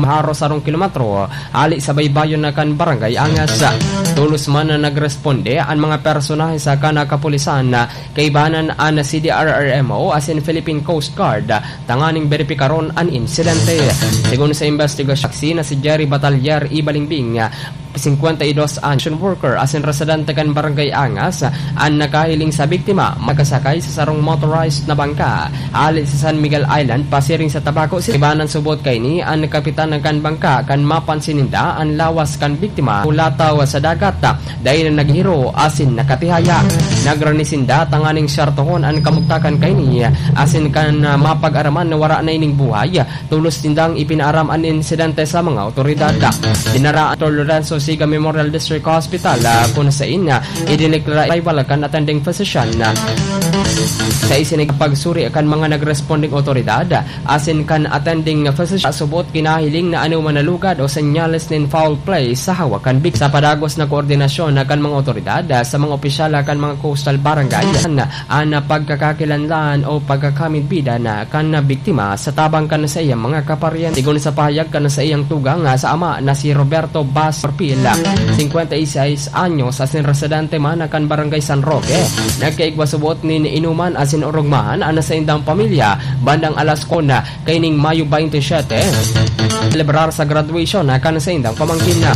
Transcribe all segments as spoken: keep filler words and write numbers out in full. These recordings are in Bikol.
haros sarong kilometro hali sa baybayon na kan Barangay Angas. Tolos man na nagresponde an mga personahe sa kan kapulisan, kaibanan an C D R R M O asin Philippine Coast Guard tanganing beripikaron an insidente. Segun sa investigasyon, saksi na si Jerry Batalier Ibalingbing, singkwenta y dos anyos, worker asin residente kan Barangay Angas, an nakahiling sa biktima, makasakay sa sarong motorized na bangka hali sa San Miguel Island pasiring sa Tabaco City. Ibanan subot kaini an kapitan kan bangka kan mapansin ninda an lawas kan biktima hulataw sa dagat, dai na naghiro asin nakatihaya. Nagrani sinda tanganing syartohon an kamugtakan kaini asin kan, ah, mapag-araman na wara na ining buhay. Tolos nindang ipinaaram an insidente sa mga otoridad. Dinara an Lorenzo Siga Memorial District Hospital, ah, kun sain, ah, idineklara rival kan attending physician. Sa isinag pagsuri kan mga nagresponding otoridad, asin kan attending physician, subot kinahiling na anoman na lugad o senyales nin foul play sa hawak kan biktima. Sa padagos na koordinasyon kan mga otoridad, ah, sa mga opisyal kan mga coastal barangay, an pagkakakilanlan o pagkakamidbidan kan biktima sa tabang kan saiyang mga kaparyente. Sigon sa pahayag kan saiyang tugang sa ama na si Roberto Bas Orpil, singkwenta y seis anyos, asin residente man kan Barangay San Roque, nagkaigwa subot nin inuman asin orogmahan an saindang pamilya bandang alas kuwatro kaining Mayo baynte siyete, selebrar sa graduation na kan saindang pamangkin na.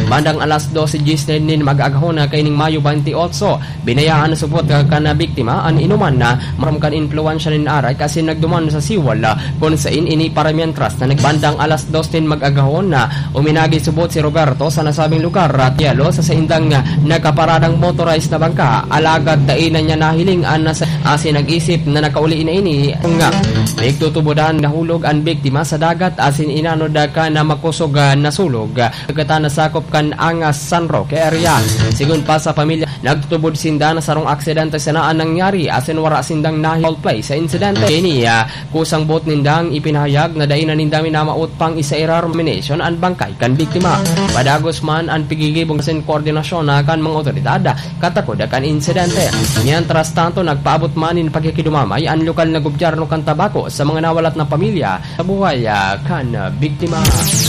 Bandang alas dose diyes nin mag-agahon na kaining Mayo baynte otso, binayaan subot kan biktima an inuman na maram kan impluwensya nin arak asin nagduman sa siwal, kun sain ini para mientras na nagbandang alas dos nin mag-agahon na uminagi subot si Roberto sa nasabing lugar at yelo sa saindang nakaparadang motorized na bangka, alagad dai na niya nahiling an nasa asin nag-isip na nakauli na ini nga pigtutubodan. Nahulog an biktima sa dagat asin inanod kan makosog na sulog. Kagatan na sakop kan Angas San Roque area. Sigon pa sa pamilya, nagtutubod sinda na sarong aksidente sana an nangyari asin wara sindang nahi-, foul play sa insidente. Ini, ah, kusang boot nindang ipinahayag na dai na ninda minamawot pang isairar nomination an bangkay kan biktima. Padagos man an pigigibong asin koordinasyon na kan mga otoridad katakod kan insidente. Mientras tanto, nagpaabot man nin pakikidumamay an lokal na gobyerno kan Tabaco sa mga nawalat na pamilya sa buhay, ah, kan, ah, biktima.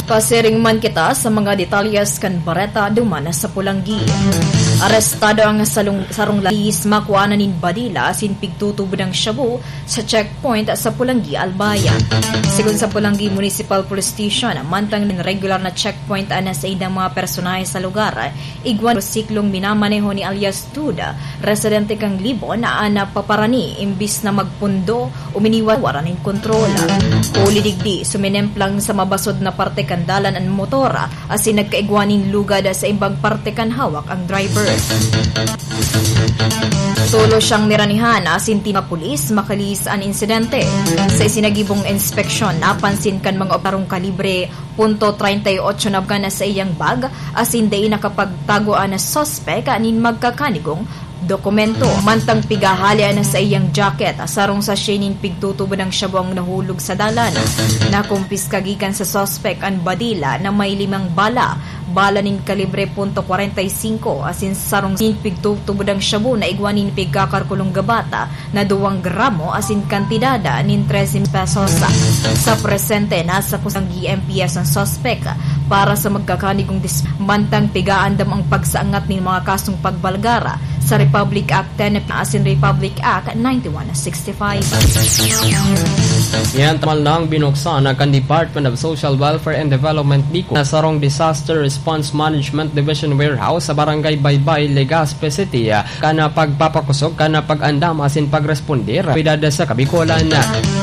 Pasiring man kita sa mga detalyes kan bareta duman sa Polangui. Arestado ang salong-, sarong lalaki sa makuanan nin badila asin pigtutubod ang shabu sa checkpoint sa Polangui, Albay. Sigon sa Polangui Municipal Police Station, mantang nin regular na checkpoint an saindang mga personahe sa lugar, igwa nin motosiklong minamaneho ni alias Tud, residente kan Libon, an napaparani imbis na magpundo, uminiwara nin kontrol. Huli digdi, suminemplang sa mabasod na parte kan dalan an motor, asin nagkaigwa nin lugad sa imbang parte kan hawak ang driver. Tolos siyang niranihan asin tinapulis makalihis an insidente. Sa isinagibong inspeksyon, napansin kan mga operong kalibre punto treinta y ocho na bangka na sa iyang bag, asin dai nakapagtago an suspek nin magkakanigong dokumento. Mantang pigahali an sa iyang jacket, sarong sachet nin pigtutubod ang shabu ang nahulog sa dalan. Nakumpiska gikan sa suspek an badila na may limang bala, bala nin kalibre punto kwarenta y singko, asin sarong nin pigtutubod ang shabu na igwa nin pigkakarkulong gabata na duwang gramo asin kantidad nin trese mil pesos. Sa presente, nasa kusang G M P S ang suspek para sa magkakanigong dis-, mantang pigaandam ang pagsaangat nin mga kasong pagbalgar sa Republic Act ten asin Republic Act ninety-one sixty-five. Yan, taman lang binuksan na kan Department of Social Welfare and Development, DICO, na sarong Disaster Response Management Division Warehouse sa Barangay Baybay, Legazpi City, kan pagpapakosog kan pag-andam asin pagresponde rapidad sa Kabikolan.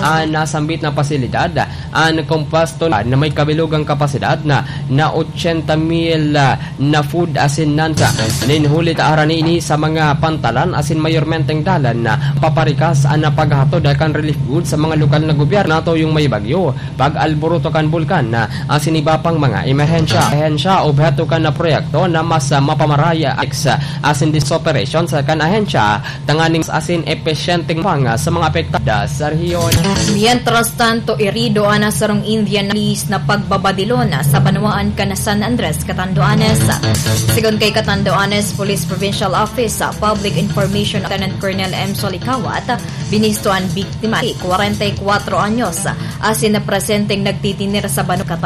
An nasambit na pasilidad, an kompuesto na may kabilugang kapasidad na, na ochenta mil, ah, na food asin nanta. Nin huli ta harani ini sa mga pantalan asin mayormenteng dalan na paparikas an paghatod kan relief goods sa mga lokal na gobyerno. Natuyong may bagyo, pag-alboroto kan bulkan, asin iba pang mga emerhensya. Emerhensya, obheto kan proyekto na mas, ah, mapamaray, ah, ex, ah, asin dis operation sa kan ahensya, tanganing asin epesyenteng pang, ah, sa mga apektado sa rehiyon. Mientras tanto, irido an sarong Indian na pulis na pagbabadilon sa banwaan kan San Andres, Catanduanes. Sigon kay Catanduanes Police Provincial Office, ah, Public Information Lieutenant Colonel M. Solikawat, binisto an biktima, kwarenta y kwatro anyos, asin na presenteng nagtitinir sa banwaan